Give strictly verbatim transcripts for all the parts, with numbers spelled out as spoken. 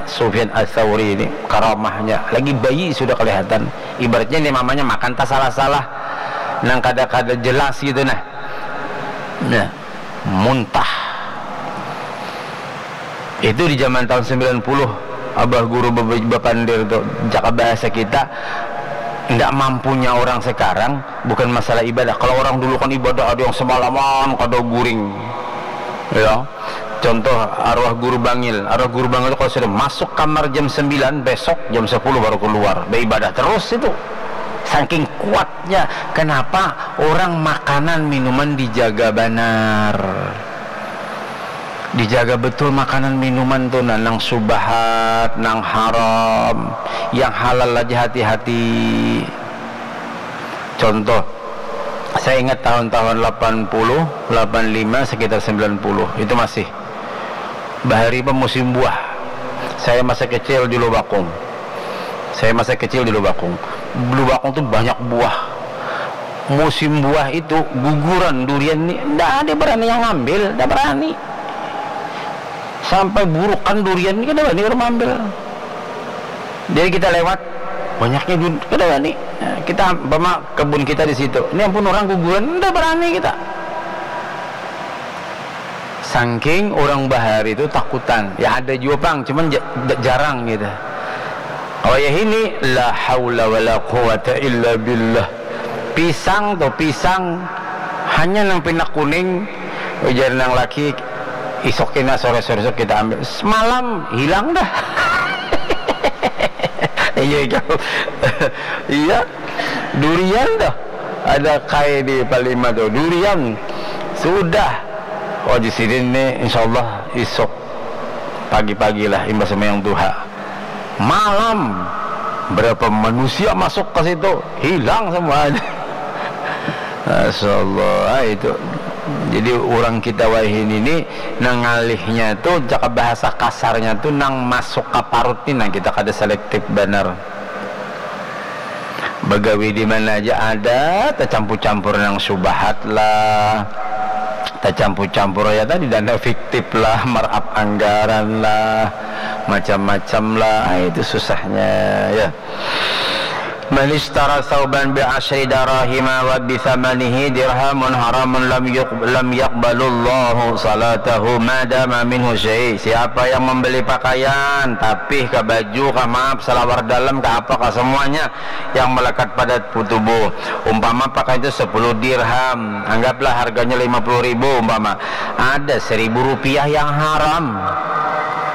Sufyan Ats-Tsauri ini karamahnya, lagi bayi sudah kelihatan. Ibaratnya ini mamanya makan tak salah-salah, nang kada-kada jelas gitu nah. Nah, muntah. Itu di zaman tahun sembilan puluh, abah guru bebe-, bapandir tu, cakap bahasa kita, ndak mampunya orang sekarang bukan masalah ibadah. Kalau orang dulu kan ibadah ada yang semalaman kada guring. Ya. Contoh arwah guru Bangil. Arwah guru Bangil itu kalau sudah masuk kamar jam sembilan, besok jam sepuluh baru keluar. Beribadah terus itu. Saking kuatnya. Kenapa? Orang makanan minuman dijaga banar. Dijaga betul makanan minuman tu, nah, nang subahat, nang haram, yang halal aja hati-hati. Contoh, saya ingat tahun-tahun lapan puluh, lapan lima, sekitar sembilan puluh, itu masih bahari apa musim buah. Saya masa kecil di Lubakung. Saya masa kecil di Lubakung. Lubakung tu banyak buah. Musim buah itu guguran durian ni, ndak ada berani yang ngambil, ndak berani. Sampai burukan durian ni, kada berani orang ambil. Jadi kita lewat, banyaknya durian, kada berani. Nah, kita, umpama kebun kita di situ, ini ampun orang guguran, ndak berani kita. Sangking orang bahari tu takutan. Ya ada jua pang, cuman ja-, da-, jarang gitu. Wayah ini, la haula wala quwata illa billah. Pisang tu, pisang hanya nang pina kuning, ujar nang laki, isok kena sore-sore isok kita ambil. Semalam hilang dah. Iya, iya. Iya. Durian dah. Ada kai di Palima tu. Durian. Sudah. Oh, di sini ni insyaallah isok pagi-pagi lah imbah sembahyang duha. Malam berapa manusia masuk ke situ, hilang semua. Masya Allah, ah, itu. Jadi orang kita wahini ni nang ngalihnya tu, cakap bahasa kasarnya tu, nang masuk ke parut ni, nang kita kada selektif banar. Bagawi di mana aja ada, tacampur-campur nang subahat lah, tacampur-campur ya tadi dana fiktif lah, marap anggaran lah, macam-macam lah. Ah, itu susahnya ya. Man ishtara thauban bi asyri darahima wa bi thamanihi dirhamun haramun lam yuq-, lam yaqbalullahu salatahu ma dama minhu syai. Siapa yang membeli pakaian, tapih kah, baju kah, maaf, salawar dalam kah, apa kah, semuanya yang melekat pada tubuh. Umpama pakaian itu sepuluh dirham, anggaplah harganya lima puluh ribu umpama. Ada seribu rupiah yang haram.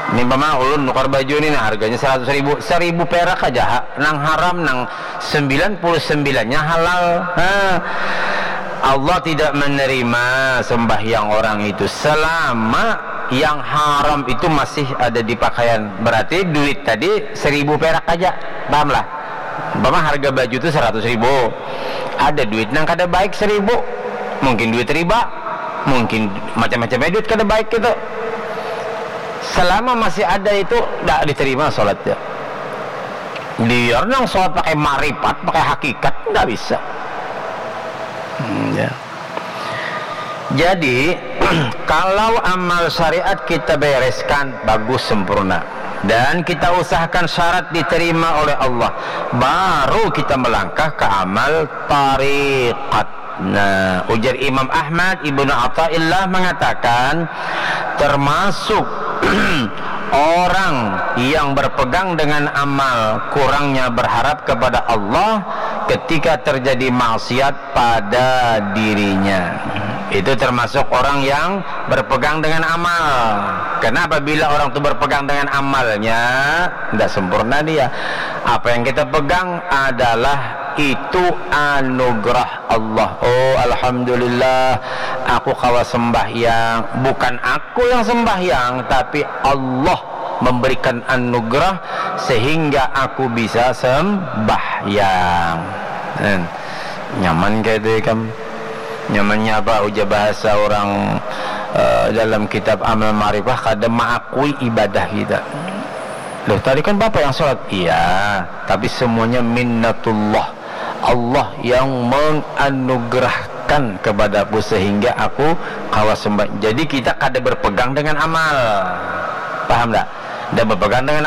Ini umpama ulun nukar baju ni, nah, harganya seratus ribu, seribu perak aja, ha. Nang haram, nang sembilan puluh sembilan-nya halal. Ha. Allah tidak menerima sembahyang orang itu selama yang haram itu masih ada di pakaian. Berarti duit tadi seribu perak aja. Pahamlah? Umpama harga baju tu seratus ribu. Ada duit nang kada baik seribu. Mungkin duit riba. Mungkin macam-macam duit kada baik gitu. Selama masih ada itu, ndak diterima salatnya. Biar nang salat pakai maripat, pakai hakikat, ndak bisa. Hmm, ya. Jadi, kalau amal syariat kita bereskan, bagus, sempurna. Dan kita usahakan syarat diterima oleh Allah, baru kita melangkah ke amal tariqat. Nah, ujar Imam Ahmad Ibnu Athaillah mengatakan, termasuk orang yang berpegang dengan amal, kurangnya berharap kepada Allah ketika terjadi maksiat pada dirinya. Itu termasuk orang yang berpegang dengan amal. Karena apabila orang itu berpegang dengan amalnya, tidak sempurna dia. Apa yang kita pegang adalah itu anugerah Allah. Oh, alhamdulillah, aku kawa sembahyang. Bukan aku yang sembahyang, tapi Allah memberikan anugerah sehingga aku bisa sembahyang. Hmm. Nyaman kayak itu, ikam? Nyamannya apa? Ujar bahasa orang, eh, dalam kitab Amal Ma'rifah, kada mengakui ibadah kita. Loh, tadi kan Bapak yang sholat? Iya, tapi semuanya minnatullah. Allah yang menganugerahkan kepadaku sehingga aku kawa sembahyang. Jadi kita kada berpegang dengan amal. Paham tak? Tidak berpegang dengan